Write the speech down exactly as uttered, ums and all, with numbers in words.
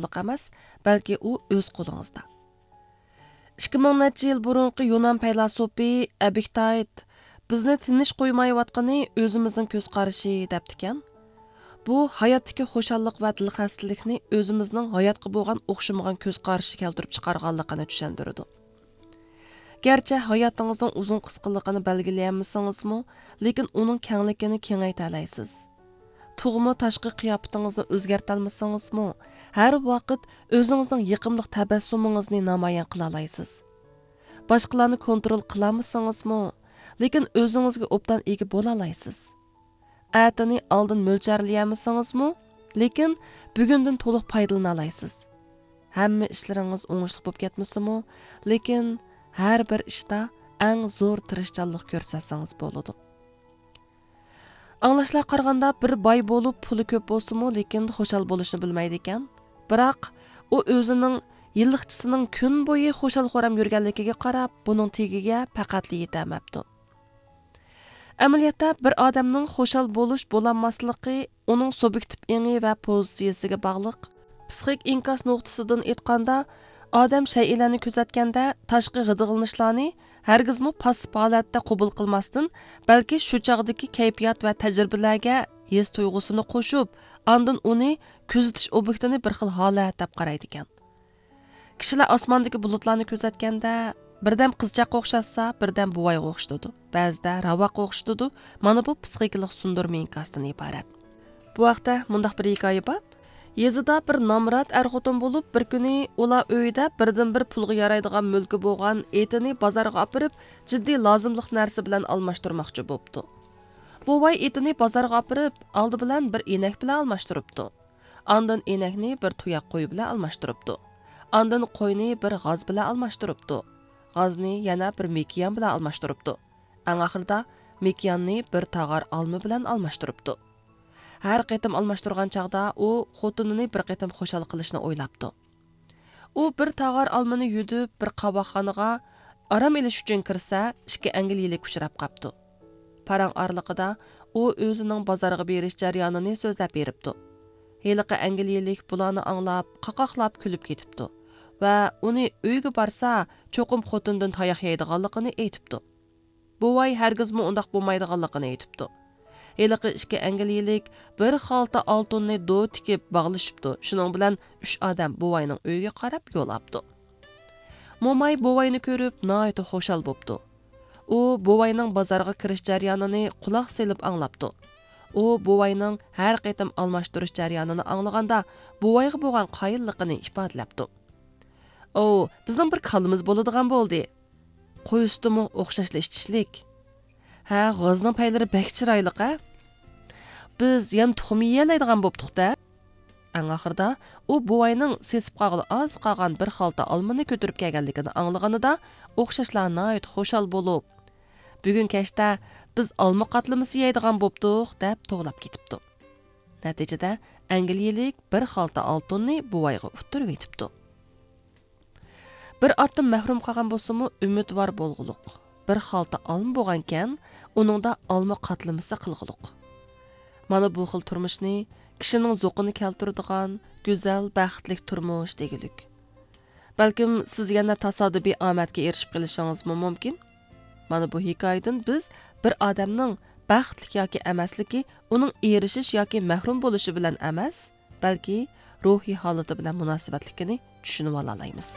خۇشاللىق ئەمەس، بەلكى ئۇ ئۆز قولىڭىزدا. ئىككى مىڭ نەچچە يىل بۇرۇنقى يۇنان پەيلاسوپى ئەبىكتايت بىزنى تىنچ قويمايۋاتقىنى ئۆزىمىزنىڭ كۆز قارىشى دەپتىكەن. بۇ ھاياتتىكى خۇشاللىق ۋە دىلخەستىلىكنى ئۆزىمىزنىڭ ھاياتقا بولغان ئوخشىمىغان كۆز قارىشى كەلتۈرۈپ چىقارغانلىقىنى چۈشەندۈرىدۇ. گەرچە ھاياتىڭىزنىڭ ئۇزۇن قىسقىلىقىنى بەلگىلىيەلمىسىڭىزمۇ، لېكىن ئۇنىڭ كەڭلىكىنى كېڭەيتەلەيسىز. تۇغما تاشقى قىياپىتىڭىزنى ئۆزگەرتەلمىسىڭىزمۇ، ھەر ۋاقىت ئۆزىڭىزنىڭ يېقىملىق تەبەسسۇمىڭىزنى نامايان قىلالايسىز. باشقىلارنى كونترول قىلالمىسىڭىزمۇ، لېكىن ئۆزىڭىزگە ئوبدان ئىگە بولالايسىز. ئەتىنى ئالدىن مۆلچەرلىيەلمىسىڭىزمۇ، لېكىن بۈگۈندىن تولۇق پايدىلىنالايسىز. ھەممە ئىشلىرىڭىز ئوڭۇشلۇق بولۇپ كەتمىسىمۇ، لېكىن ھەر بىر ئىشتا ئەڭ زور تىرىشچانلىق كۆرسەتسىڭىز بولىدۇ. ئاڭلاشلارغا قارىغاندا، بىر باي بولۇپ، پۇلى كۆپ بولسىمۇ، لېكىن خۇشال بولۇشنى بىلمەيدىكەن. بىراق، ئۇ ئۆزىنىڭ يىللىقچىسىنىڭ كۈن بويى خۇشال-خۇرام يۈرگەنلىكىگە قاراپ، بۇنىڭ تېگىگە پەقەتلا يېتەلمەپتۇ. ئەمەلىيەتتە، بىر ئادەمنىڭ خۇشال بولۇش، بولالماسلىقى ئۇنىڭ سۇبيېكتىپ ئېڭى ۋە پوزىتسىيىسىگە باغلىق. پسىخىك ئىنكاس نۇقتىسىدىن ئېيتقاندا، ئادەم شەيئىلەرنى كۆزەتكەندە، تاشقى غىدىقلىنىشلارنى ھەرگىزمۇ پاسسىپ ھالەتتە قوبۇل قىلماستىن، بەلكى شۇ چاغدىكى كەيپىيات ۋە تەجرىبىلەرگە ھېس تۇيغۇسىنى قوشۇپ، ئاندىن ئۇنى كۆزىتىش ئوبيېكتىنى بىر خىل ھالەت دەپ قارايدىكەن. كىشىلەر ئاسماندىكى بۇلۇتلارنى كۆزەتكەندە، بىردەم قىزچاققا ئوخشاتسا، بىردەم بوۋايغا ئوخشىتىدۇ، بەزىدە راۋاققا ئوخشىتىدۇ. مانا بۇ پسىخىكىلىق سۇندۇرما ئىنكاستىن ئىبارەت. بۇ ھەقتە مۇنداق بىر ھېكايە بار. يېزىدا بىر نامرات ئەر-خوتۇن بولۇپ، بىر كۈنى ئۇلار ئۆيىدە بىردىنبىر پۇلغا يارايدىغان مۈلكى بولغان ئېتىنى بازارغا ئاپىرىپ، جىددىي لازىملىق نەرسە بىلەن ئالماشتۇرماقچى بوپتۇ. بوۋاي ئېتىنى بازارغا ئاپىرىپ، ئالدى بىلەن بىر ئىنەك بىلەن ئالماشتۇرۇپتۇ. ئاندىن ئىنەكنى بىر تۇياق قوي بىلەن ئالماشتۇرۇپتۇ. ئاندىن قوينى بىر غاز بىلەن ئالماشتۇرۇپتۇ. غازنى يەنە بىر مېكىيان بىلەن ئالماشتۇرۇپتۇ. ئەڭ ئاخىرىدا مېكىياننى بىر تاغار ئالما بىلەن ئالماشتۇرۇپتۇ. ھەر قېتىم ئالماشتۇرغان چاغدا ئۇ خوتۇنىنى بىر قېتىم خۇشال قىلىشنى ئويلاپتۇ. ئۇ بىر تاغار ئالمىنى يۈدۈپ، بىر قاۋاقخانىغا ئارام ئېلىش ئۈچۈن كىرسە، ئىككى ئەنگلىيىلىك ئۇچراپ قاپتۇ. پاراڭ ئارىلىقىدا ئۇ ئۆزىنىڭ بازارغا بېرىش جەريانىنى سۆزلەپ بېرىپتۇ. ھېلىقى ئەنگلىيىلىك بۇلارنى ئاڭلاپ، قاقاقلاپ كۈلۈپ كېتىپتۇ ۋە ئۇنى ئۆيگە بارسا، چوقۇم خوتۇندىن تاياق يەيدىغانلىقىنى ئېيتىپتۇ. بوۋاي ھەرگىزمۇ ئۇنداق بولمايدىغانلىقىنى ئېيتىپتۇ. ھېلىقى ئىككى ئەنگلىيىلىك بىر خالتا ئالتۇننى دو تىكىپ باغلىشىپتۇ. شۇنىڭ بىلەن ئۈچ ئادەم بوۋاينىڭ ئۆيىگە قاراپ يول ئاپتۇ. موماي بوۋاينى كۆرۈپ، ناھايىتى خۇشال بوپتۇ. ئۇ بوۋاينىڭ بازارغا كىرىش جەريانىنى قۇلاق سېلىپ ئاڭلاپتۇ. ئۇ بوۋاينىڭ ھەر قېتىم ئالماشتۇرۇش جەريانىنى ئاڭلىغاندا، بوۋايغا بولغان قايىللىقىنى ئىپادىلەپتۇ. ئوۋ، بىزنىڭ بىر كالىمىز بولىدىغان بولدى. قوي سۈتىمۇ ئوخشاشلا ئىچىشلىك. ھە، غازنىڭ پەيلىرى بەك چىرايلىق، ھە؟ بىز يەنە تۇخۇم يېيەلەيدىغان بوپتۇق-دە. ئەڭ ئاخىرىدا ئۇ بوۋاينىڭ سېسىپ قالغىلى ئاز قالغان بىر خالتا ئالمىنى كۆتۈرۈپ كەلگەنلىكىنى ئاڭلىغىنىدا، ئوخشاشلا ناھايىتى خۇشال بولۇپ، بۈگۈن كەچتە بىز ئالما قاتلىمىسى يەيدىغان بوپتۇق، دەپ توۋلاپ كېتىپتۇ. نەتىجىدە، ئەنگلىيىلىك بىر خالتا ئالتۇننى بوۋايغا ئۇتتۇرۇۋېتىپتۇ. بىر ئاتتىن مەھرۇم قالغان بولسىمۇ، ئۈمىدۋار بولغۇلۇق. بىر خالتا ئالما بولغانكەن، ئۇنىڭدا ئالما قاتلىمىسى قىلغۇلۇق. مانا بۇ خىل تۇرمۇشنى كىشىنىڭ زوقىنى كەلتۈرىدىغان گۈزەل، بەختلىك تۇرمۇش دېگۈلۈك. بەلكىم سىز يەنە تاسادىپىي ئامەتكە ئېرىشىپ قېلىشىڭىزمۇ مۇمكىن. مانا بۇ ھېكايىدىن بىز بىر ئادەمنىڭ بەختلىك ياكى ئەمەسلىكى ئۇنىڭ ئېرىشىش ياكى مەھرۇم بولۇشى بىلەن ئەمەس، بەلكى روھىي ھالىتى بىلەن مۇناسىۋەتلىكىنى چۈشىنىۋالالايمىز.